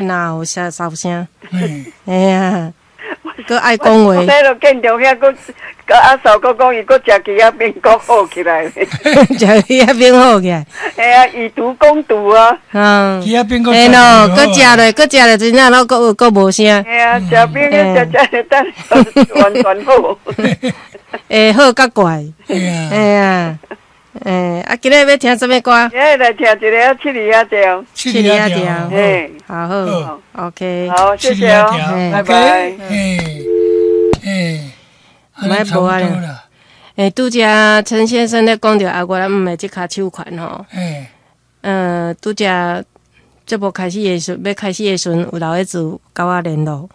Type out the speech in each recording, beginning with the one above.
哪有啥哨聲？哎呀，閣愛講話。我彼落建中遐，閣閣阿嫂閣講伊閣食魚仔餅閣好起來。食魚仔餅好起來。嘿啊，以毒攻毒啊。魚仔餅閣嘿咯，閣食咧，閣食咧，真正攏閣閣無聲。嘿啊，食餅食食咧，等完全好。會好較怪。嘿啊。嘿啊。欸，啊，今日欲聽啥物歌？今日來聽一个啊，七里仔調。七里仔調，嘿，好好，OK。好，謝謝哦，拜拜。嘿，嘿，莫無啊。欸，拄才陳先生咧講著阿我咱毋的這跤手環吼。拄才節目開始的時，欲開始的時陣，有老爺子佮我聯絡。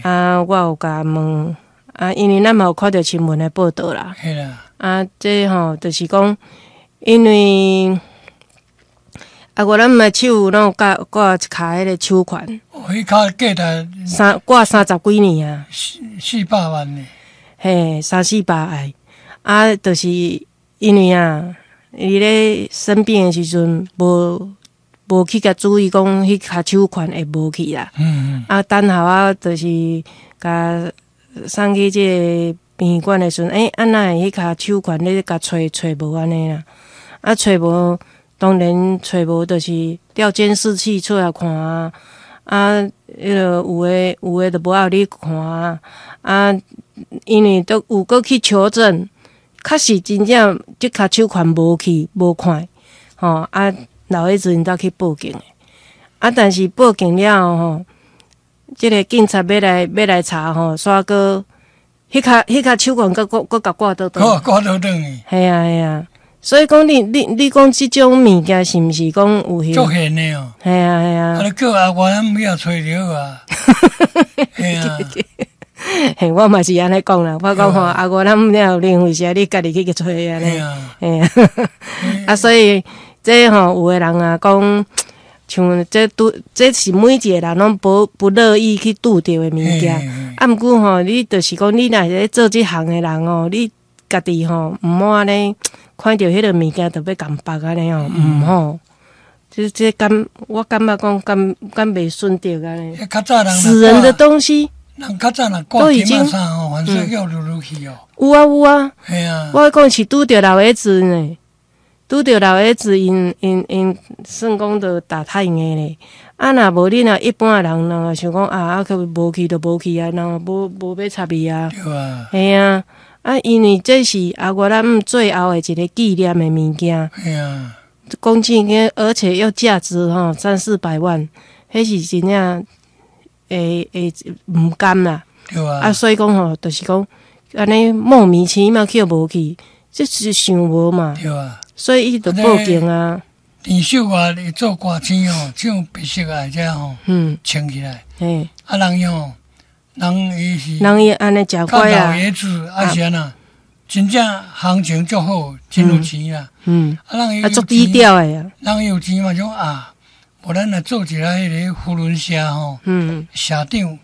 啊，我有共問，啊，因為咱嘛有看著新聞的報道啦。啊，這吼就是講，因為啊，我咱的手攏有掛掛一跤彼个手環。哦，彼跤價值三掛三十幾年啊，四四百萬呢。嘿，三四百萬。啊，就是因為啊，伊咧生病的時陣，無無去共注意講，彼跤手環會無去啦。啊，等下我就是共送去這个殯儀館的時陣，欸，啊哪會彼跤手環咧共揣揣無按呢啦？啊，揣無，當然揣無，就是調監視器出來看啊。啊，彼个有的有的就無愛予你看啊。啊，因為都有閣去求證，確實真正這跤手環無去無看，吼啊，老爺子𪜶才去報警的。啊，但是報警了後吼，這个警察欲來查吼，煞閣彼跤彼跤手環閣閣閣共掛倒轉。掛倒轉去。嘿啊嘿啊，所以講你你你講這種物件是毋是講有足現的哦？嘿啊嘿啊。啊，你叫阿我咱欲揣著啊。嘿啊。嘿，我嘛是按呢講啦，我講吼，啊，我咱了有零費時，你家己去揣按呢。嘿啊。啊，所以這吼有的人啊講，像這拄這是每一個人攏不不樂意去拄著的物件。啊，毋過吼，你就是講你若是咧做這行的人哦，你家己吼毋好按呢看著彼个物件就欲共縛按呢吼，毋好。這這感我感覺講敢敢袂順著按呢。較早人死人的東西。人較早若掛金仔衫吼，凡說叫擼擼去哦。有啊有啊。嘿啊。我講是拄著老爺子呢，拄著老爺子𪜶𪜶𪜶算講著打太硬咧。啊，若無你若一般的人，人想講啊，啊，去無去就無去啊，人無無欲插伊啊。對啊。嘿啊，啊，因為這是阿我咱最後的一個紀念的物件。嘿啊。講真經，而且又價值吼三四百萬，彼是真正會會毋甘啦。對啊。啊，所以講吼，就是講按呢莫名其妙去無去，這是想無嘛。對啊。所以伊就報警啊。田秀華伊做歌星吼，唱白色愛這吼，穿起來。嘿。啊，人伊吼，人伊是。人伊按呢誠乖啊。老爺子啊是按怎？真正行情足好，真有錢啦。啊，人伊啊，足低調的啊。人伊有錢嘛，種啊，無咱來做一个彼個扶輪社吼，社長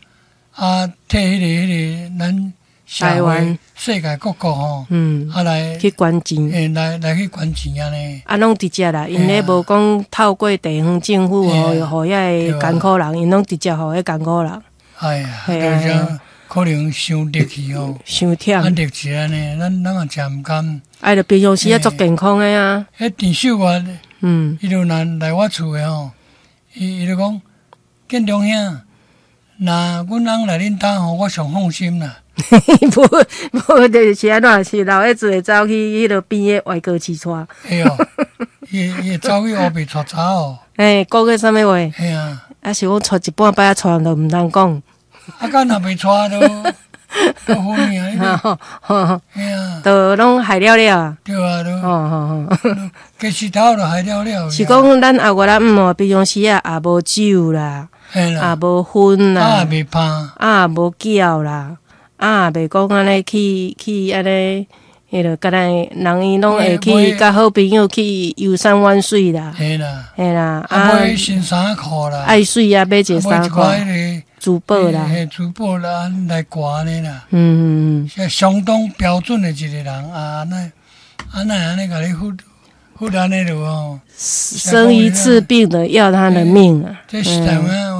啊，替彼个彼個咱社會世界各國吼，啊來去捐錢，欸，來來去捐錢按呢。啊，攏直接啦，𪜶咧無講透過地方政府予予遐个艱苦人，𪜶攏直接予彼艱苦人。哎呀，就是可能傷力氣哦，傷忝。啊，力氣按呢，咱咱嘛誠毋甘。哎，就平常時啊，足健康的啊。彼田秀華，伊就來來我厝的吼，伊伊就講，建中兄，若阮翁來恁兜吼，我上放心啦。無無，就是按怎是老爺子會走去彼落邊的外國市帶。會哦，伊伊會走去烏白帶查哦。欸，講過啥物話？嘿啊。啊是講帶一半擺仔帶都毋通講。啊，敢若袂帶都都好命啊！嘿啊，都攏害了了啊！對啊，都吼吼吼，雞舌頭都害了了。是講咱阿我咱毋哦，平常時啊，也無酒啦，也無薰啦，也袂拍，啊無叫啦，啊袂講按呢去去按呢，彼落敢若人伊攏會去佮好朋友去遊山玩水啦，嘿啦，嘿啦，啊買新衫褲啦，愛媠啊買一个衫褲。珠寶啦，嘿，珠寶啦，來掛呢啦。是相當標準的一個人啊，那啊那按呢共你付付按呢落哦。生一次病的要他的命啊！這是台灣